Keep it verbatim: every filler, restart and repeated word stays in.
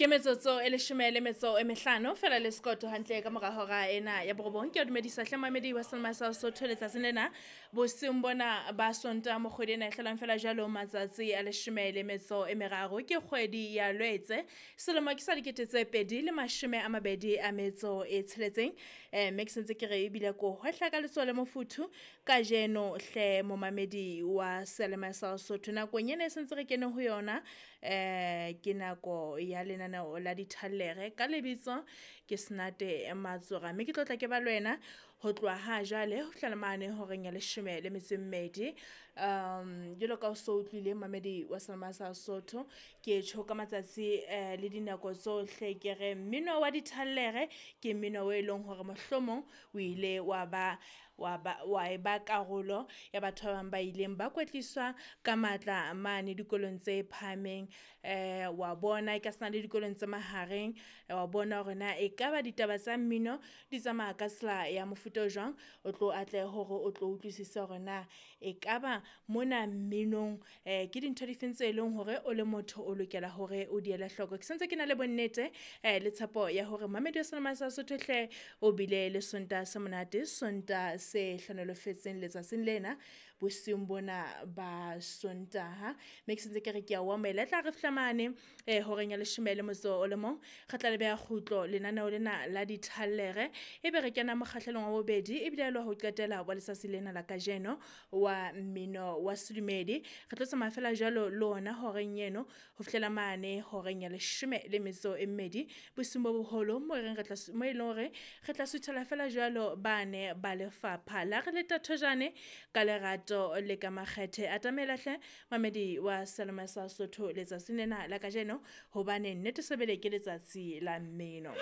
Ke metsotso e leshome le metso e mehlano fela le sekoto hantle ka mora hora ena ya borobong. Ke a dumedisa hle mamedi wa Selma sa Sotho letsatsing lena bosiung bona ba Sontaha mo kgwedi ena e hlolang fela jwalo matsatsi a leshome le metso e meraro ke kgwedi ya Lwetse selemo ke sa dikete tse pedi le mashome a mabedi a metso e tsheletseng. Eh mme ke sentse ke re ebile ko hwehla ka letsoho le mofuthu kajeno hle momamedi wa Selma sa Sotho nakong ena e sentse re kene ho yona eh ke nako ya lenaneo la dithallere ka lebitso ke Senate Matsora mme ke tlotla ke ba le wena ho tloha ha jwale ho fihlela mane horeng ya leshome le metso e mmedi. Um jwalo ka o so utlwile mamedi wa Selma sa Sotho ke tjho ka matsatsi eh, le dinako tsohle ke re mmino wa dithallere ke mmino o e leng hore mohlomong o ile wa ba wa ba wa e ba karolo ya batho ba bang ba ileng ba kwetliswa ka matla mane dikolong tse phahameng eh wa bona e ka sena le dikolong tse mahareng wa bona hore na ekaba ditaba tsa mmino di tsamaya ka tsela ya mofuta o jwang o tlo atleha hore o tlo utlwisise hore na ekaba mona mminong eh ke dintho difeng tse leng hore o le motho o lokela hore o di ele hloko. Ke sentse ke na le bonnete eh le tshepo ya hore mamedi wa Selma sa Sotho hle o bile le Sontaha se monate Sontaha se hlohonolofetseng letsatsing lena bosiung bona ba Sontaha. Mme ke sentse ke re ke a o amohela e tla re fihla mane eh horeng ya leshome le motso o le mong re tla le beha kgutlo lenaneo lena la dithallere ebe re kena mokgahlelong wa bobedi ebile le ho qetela wa letsatsi lena la kajeno wa mmino wa sedumedi. Re tlo tsamaya fela jwalo le ona horeng eno ho fihlela mane horeng ya leshome le metso e mmedi bosiung bo boholo mo e reng re tla mo e leng hore re tla suthela fela jwalo bane ba lefapha la re le tathojane ka lerato le ka makgethe. Atamela hle mamedi wa Selma sa Sotho letsatsing lena la kajeno hobane nnete sebele ke letsatsi la mmino.